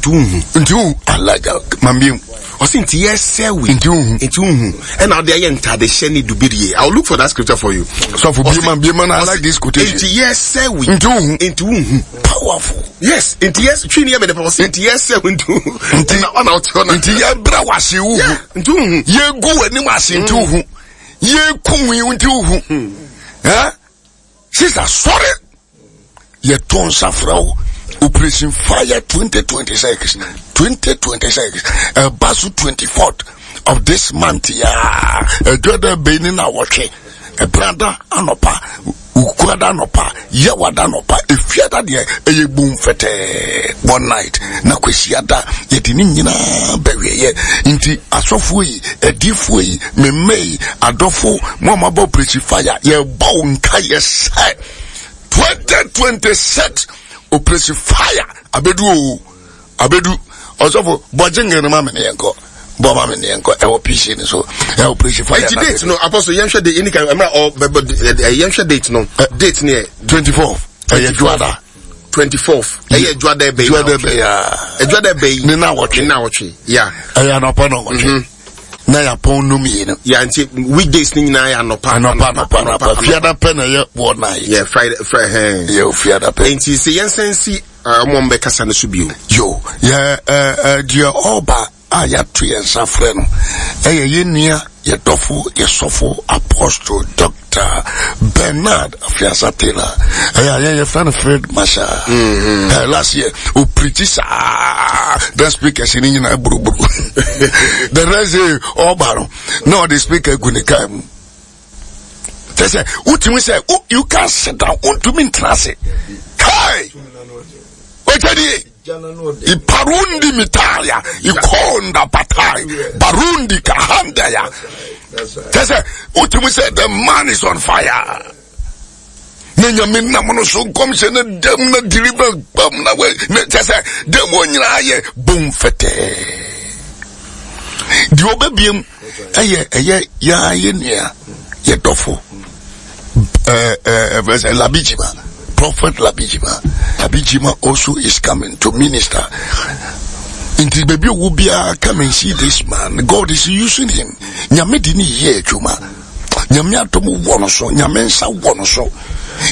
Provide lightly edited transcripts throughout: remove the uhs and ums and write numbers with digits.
Nti wohu. Nti wohu. Alaga mambiem. Ɔsi nti yɛsɛ wi. Nti wohu. Nti wohu. Ɛna ɔde ayɛ ntadehyɛ ne dubirie. I will look for that scripture for you. Sɔfo biema biema na I like this quotation. Nti yɛsɛ wi. Nti wohu. Nti wohu. Powerful. Yes. Nti yɛs twi ni yɛ mɛ de pa ɔsi nti yɛsɛ wi nti wohu. Nti ɔna ɔte hɔ na. Nti yɛbrɛ wase wohu. Nti wohu. Yɛgu w'anim ase nti wohu. Yɛkum yi nti wohu. Eh? Sisa sɔre. Yɛto nsa frɛ wo. Operation Fire 2026. 2026. Ɛba so 24th of this month ya. Ɛdwa dɛ bɛyi ne na wɔtwe. Ɛbrada anɔpa. Ukuada anɔpa. Yɛwada anɔpa. Efiada deɛ ɛyɛ bum fɛtɛɛ. One night. Na kwasiada yɛde ne nyinaa bɛwieɛ. Nti asɔfoɔ yi, adiifoɔ yi, me mma yi, adɔfo, mo a moabɔ Operation Fire, yɛbɔ wo nkaeɛ sɛ 2026 Operation Fire abedu o, abedu. Ɔsɔfo, bɔ jingle no ma me ne yɛnkɔ. Bɔ ma me ne yɛnkɔ. Ɛwɔ PC no so. Ɛwɔ Operation Fire. Eti date no, Apostle, yɛnhwɛ date, ɛni kan, ɛmra ɔ, bɛbɔ, yɛnhwɛ date no. Date no yɛ 24. Ɛyɛ Dwoada. 24th. Ɛyɛ Dwoada ɛbɛyi. Dwoada ɛbɛyi. Dwoada ɛbɛyi. Ne na wɔtwe. Ne na wɔtwe. Ya. Ɛyɛ anɔpa na wɔtwe. Na yɛapɔn no mmienu. Ya nti weekdays ni nyinaa yɛ anɔpa. Anɔpa anɔpa anɔpa. Fiada pɛ na ɛyɛ wɔ night. Yɛ Friday Friday hɛn. Yɛ fiada pɛ. Nti sɛ yɛn sɛn si ɔmo ɔmo bɛkasa no so bio. Yo yɛ ɛɛ ɛɛ deɛ ɔba a yɛato yɛn nsa frɛ no ɛyɛ yɛn nua yɛ dɔfo yɛ sɔfo apostle doctor Bernard Afiasa Taylor ɛyɛ a yɛn yɛfrɛ no field marshal. Mm-hmm. Last year o preach saa then speakers ni nyinaa buruburu the rest day ɔba no na ɔde speaker gu ne kaa mu kyɛ sɛ wotumi sɛ you can sit down wontumi ntena ase kai ɔkyɛ Iparundi mitaya, ikonda patai, barundi kahandaya. Kyɛ sɛ wotumi sɛ the man is on fire. Na nyame nam no so nkɔmhyɛ no dam na deliverance bam na wɛ na kyɛ sɛ dam wɔ nyinaa yɛ bom fɛtɛɛ. Deɛ ɔbɛbiem ɛyɛ ɛyɛ yaa yɛ nua yɛ dɔfo ɛɛ ɛɛ ɛɛ Labijima Prophet Labijima Labijima also is coming to minister. Nti baabi owu biara come and see this man. God is using him. Nyame di ne yɛ adwuma. Nyame adom wɔ no so. Nyame nsa wɔ no so.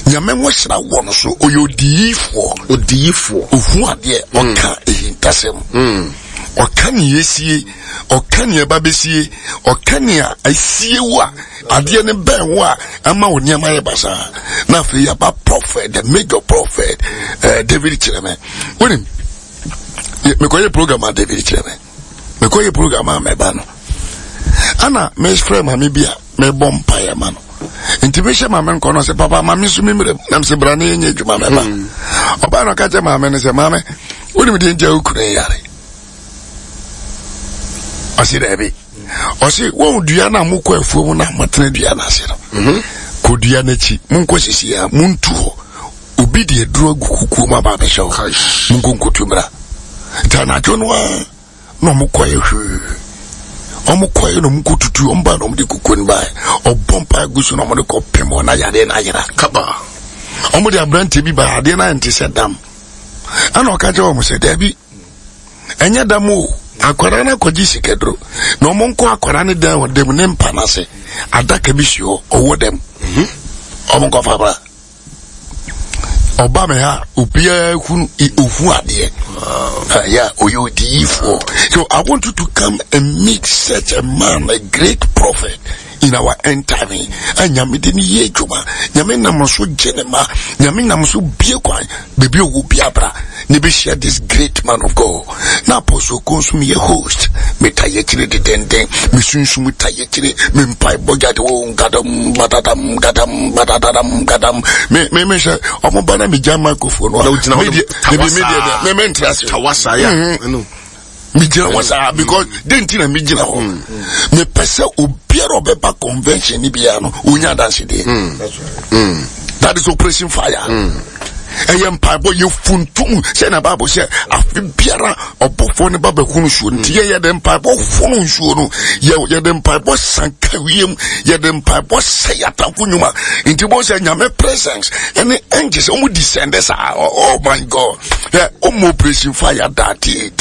Nyame nwosra wɔ no so. Ɔyɛ odiyifoɔ. Odiyifoɔ. Ohu adeɛ. Ɔka ehintasɛm. Ɔka nea esie. Ɔka nea ɛba bɛsie. Ɔka nea asie wo a adeɛ no bɛn wo a ɛma wo nneɛma yɛ basaa. Na afei yɛaba prophet, the major prophet, David Kyerɛmɛ. Wonim, mekɔyɛ program a David Kyerɛmɛ. Mekɔyɛ program a mɛba no. Ana mefrɛ maame bi a mebɔ mpaeɛ ma no. Nti mehyɛ maame nkɔ no sɛ papa maame nso me mmerɛ mu. Nam sɛ bra ne yɛnyɛ adwuma mɛba. Ɔbaa no ɔka kyerɛ maame no sɛ maame wonim deɛ nti a wo kunu yare. Ɔse daabi. Ɔse wɔn dua no a mokɔ afuo mu no a motena dua no ase no. Kɔ dua no akyi monkɔ sisi a montu hɔ. Obi de aduro agu kukuo mu aba abɛhyɛ hɔ. Monkɔ nkotu mmra. Nti anadwo no a na ɔmo kɔɛ hwee. Ɔmo kɔɛ na ɔmo kɔ tutu ɔmo ba na ɔmo de kukuo no baɛ. Ɔbɔ mpa gu so na ɔmo de kɔ pem hɔ na yadeɛ no ayera. Kaba. Ɔmo de aberanteɛ bi baɛ adeɛ no ayɛ nte sɛ dam. Ɛna ɔka kyerɛ ɔmo sɛ daabi ɛnyɛ dam o. Akwadaa no akɔgye sikaduro na ɔmo nkɔ akwadaa no dan wɔ dam ne mpa no ase. Adaka bi si hɔ ɔwɔ dam. Ɔmo nkɔ fa bra. Ɔba me ha obiara hunu ohu adeɛ. Yeah, ɔyɛ odiyifoɔ. So I want you to come and meet such a man, a great prophet in our end time. A nyame de ne yɛ adwuma. Nyame nam so gye ne ma. Nyame nam so bie kwan. Baabi ɔwɔ bi abra. Ne bɛhyia this great man of God. Na Apostle Ko nso meyɛ host. Meta yɛkyerɛ dedenden. Mesunsum ta yɛkyerɛ. Me mpaebɔ gyade o gadam badadam gadam badadadam gadam. Me me me sɛ ɔmo ba na megya microphone no a. Na wogyina hɔ Me deɛ me me deɛ me me ntra ase. Tawasa ya. Ɛno. Megyina hɔ saa because den ti na megyina hɔ. Mepɛ sɛ obiara ɔbɛba convention ni biara no onya adansedeɛ. That is Operation Fire. Ɛyɛ mpaebɔ yɛ funtum sɛ na Bible sɛ afe biara ɔbɔfoɔ no ba bɛhunu nsuo no nti yɛ yɛde mpaebɔ hono nsuo no yɛ yɛde mpaebɔ sanka wiem yɛde mpaebɔ sɛ yɛatamfo nnwuma nti bɔ sɛ Nyame presence ɛne angels ɔmo descend saa. Oh my God, yɛ ɔmo Operation Fire daate.